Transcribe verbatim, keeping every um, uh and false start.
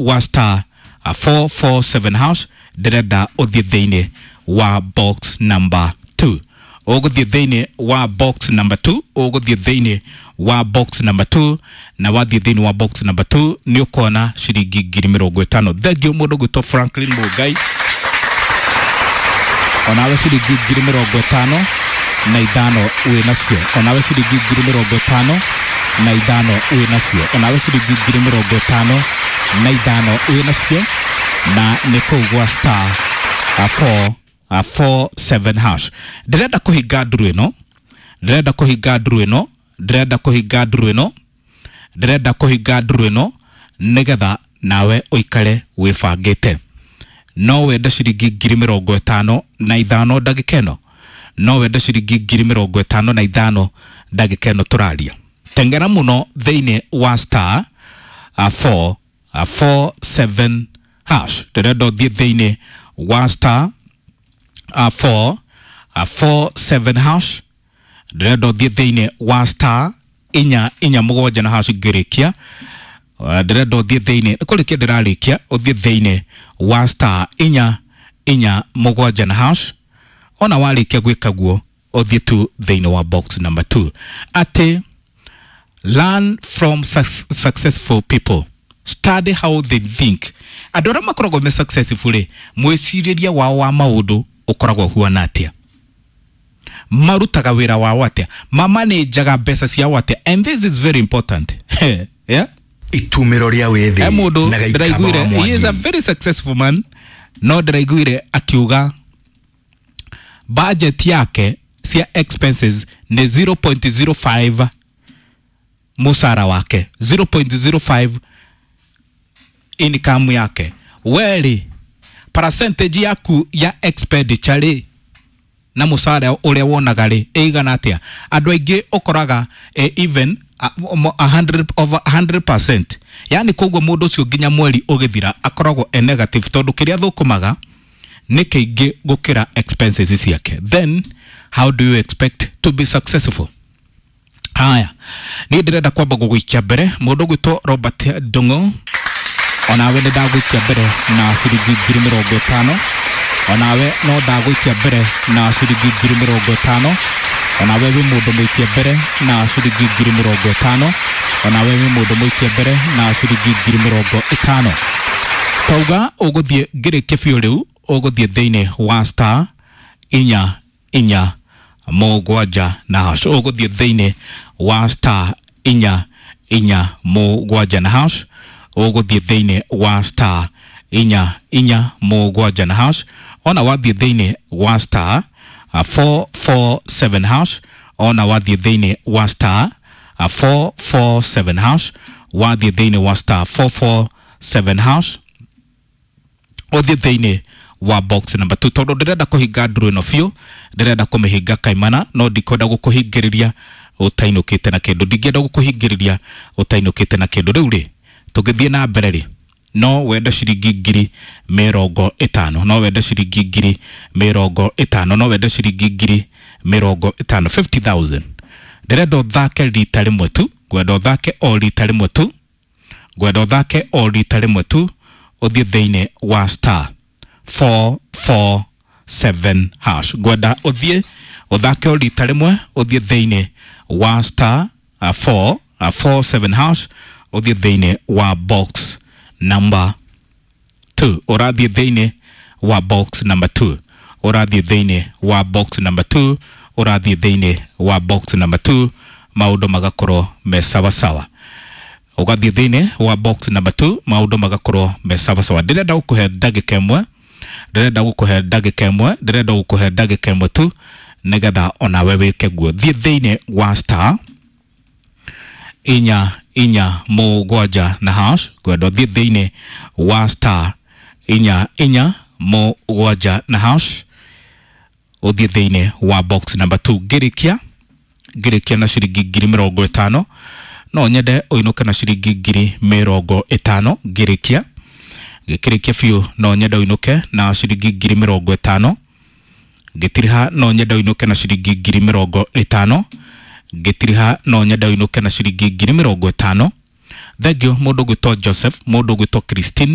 wa star four four seven hash. Ndĩrenda ũthiĩ thĩinĩ wa box number two, ũgũthiĩ thĩinĩ wa box number two, ũgũthiĩ thĩinĩ wa box number two, na wathiĩ thĩinĩ wa box number two nĩ ũkona ciringi ngiri mĩrongo ĩtano. Thengiũ mũndũ gwĩtwo Franklin Mũngai, onawe ciringi ngiri mĩrongo ĩtano na ithano wĩ nacio, onawe ciringi ngiri mĩrongo ĩtano na ithano wĩ nacio, onawe ciringi ngiri mĩrongo ĩtano na ithano wĩ nacio, na nĩ kũu gwa star four four seven hash. Ndĩrenda kũhinga nduru ĩno, ndĩrenda kũhinga nduru ĩno, ndĩrenda kũhinga nduru ĩno, ndĩrenda kũhinga nduru ĩno nĩgetha nawe ũikare wĩbangĩte. No wende ciringi ngiri mĩrongo ĩtano na ithano ndagĩka ĩno? No wende ciringi ngiri mĩrongo ĩtano na ithano ndagĩka ĩno tũraria? Tengera mũno thĩinĩ wa star four four seven hash. Ndĩrenda ũthiĩ thĩinĩ wa star four four seven hash. Ndĩrenda ũthiĩ thĩinĩ wa star inya inya mũgwanja na hash ngĩrĩkia. Ndĩrenda ũthiĩ thĩinĩ, kũrĩkia ndĩrarĩkia, ũthiĩ thĩinĩ wa star inya inya mũgwanja na hash. Ona warĩkia gwĩka guo, ũthiĩ tu thĩinĩ wa box number two. Atĩ learn from successful people, study how they think. Andũ arĩa makoragwo me successful rĩ, mwĩcirĩrie wao wa maũndũ ũkoragwo ũhuana atĩa, marutaga wĩra wao atĩa, mamanĩnjaga mbeca ciao atĩa? And this is very important, yeah? Itumĩro rĩa wĩthĩ. Mũndũ na Gĩikamba ndĩraiguire wa he is a Mwangi. Very successful man, no ndĩraiguire akiuga budget yake cia expenses nĩ zero point zero five mũcara wake, zero point zero five income yake. Werĩ percentage yaku ya expenditure rĩ na mũcara ũrĩa wonaga rĩ ĩigana atĩa? Andũ aingĩ ũkoraga eh, even uh, a hundred, over one hundred percent, yani koguo mũndũ ũcio nginya mweri ũgĩthira akoragwo e negative, tondũ kĩrĩa thũkũmaga nĩ kĩingĩ gũkĩra expenses ciake. Then how do you expect to be successful? Haya, niĩ ndĩrenda kwamba gũgũikia mbere mũndũ gwĩtwo Robert Ndung'u, onawe nĩ ndagũikia mbere na ciringi ngiri mĩrongo ĩtano. Onawe no ndagũikia mbere na ciringi ngiri mĩrongo ĩtano. Onawe wĩ mũndũ mũikie mbere na ciringi ngiri mĩrongo ĩtano. Onawe wĩ mũndũ mũikie mbere na ciringi ngiri mĩrongo ĩtano. Tauga ũgũthiĩ ngĩrĩkie biũ rĩu, ũgũthiĩ thĩinĩ wa star inya inya mũgwanja na hash. Ũgũthiĩ thĩinĩ wa star inya inya mũgwanja na hash. Ũgũthiĩ thĩinĩ wa star inya inya mũgwanja na hash. Ona wathiĩ thĩinĩ wa star four four seven hash, ona wathiĩ thĩinĩ wa star four four seven hash, wathiĩ thĩinĩ wa star four four seven hash, ũthiĩ thĩinĩ wa box number two, tondũ ndĩrenda kũhinga nduru ĩno biũ, ndĩrenda kũmĩhinga kaimana, no ndikwenda gũkũhingĩrĩria ũtainũkĩte na kĩndũ, ndingĩenda gũkũhingĩrĩria ũtainũkĩte na kĩndũ. Rĩu rĩ, tũngĩthiĩ na mbere rĩ, no wende ciringi ngiri mĩrongo ĩtano? No wende ciringi ngiri mĩrongo ĩtano? No wende ciringi ngiri mĩrongo ĩtano, fifty thousand? Ndĩrenda ũthake rita rĩmwe tu, ngwenda ũthake o rita rĩmwe tu, ngwenda ũthake o rita rĩmwe tu, ũthiĩ thĩinĩ wa star four four seven hash. Ngwenda ũthiĩ ũthake o rita rĩmwe, ũthiĩ thĩinĩ wa star four four seven hash, ũthiĩ thĩinĩ wa box number two. Ũrathiĩ thĩinĩ wa box number two, ũrathiĩ thĩinĩ wa box number two, ũrathiĩ thĩinĩ wa box number two, maũndũ magakorwo me sawasawa. Ũgathiĩ thĩinĩ wa box number two, maũndũ magakorwo me sawasawa. Ndĩrenda gũkũhe ndagĩka ĩmwe, ndĩrenda gũkũhe ndagĩka ĩmwe, ndĩrenda gũkũhe ndagĩka ĩmwe tu nĩgetha onawe wĩke guo. Thiĩ thĩinĩ wa star inya inya mũgwanja na hash. Ngwenda ũthiĩ thĩinĩ wa star inya inya mũgwanja na hash, ũthiĩ thĩinĩ wa box number two. Ngĩrĩkia, ngĩrĩkia na ciringi ngiri mĩrongo ĩtano. No nyende ũinũke na ciringi ngiri mĩrongo ĩtano. Ngĩrĩkia, gĩkĩrĩkia biũ, no nyende ũinũke na ciringi ngiri mĩrongo ĩtano. Ngĩtiriha, no nyende ũinũke na ciringi ngiri mĩrongo ĩtano. Ngĩtiriha, no nyende ũinũke na ciringi ngiri mĩrongo ĩtano. Thengiũ mũndũ ũgwĩtwo Joseph, mũndũ ũgwĩtwo Christine.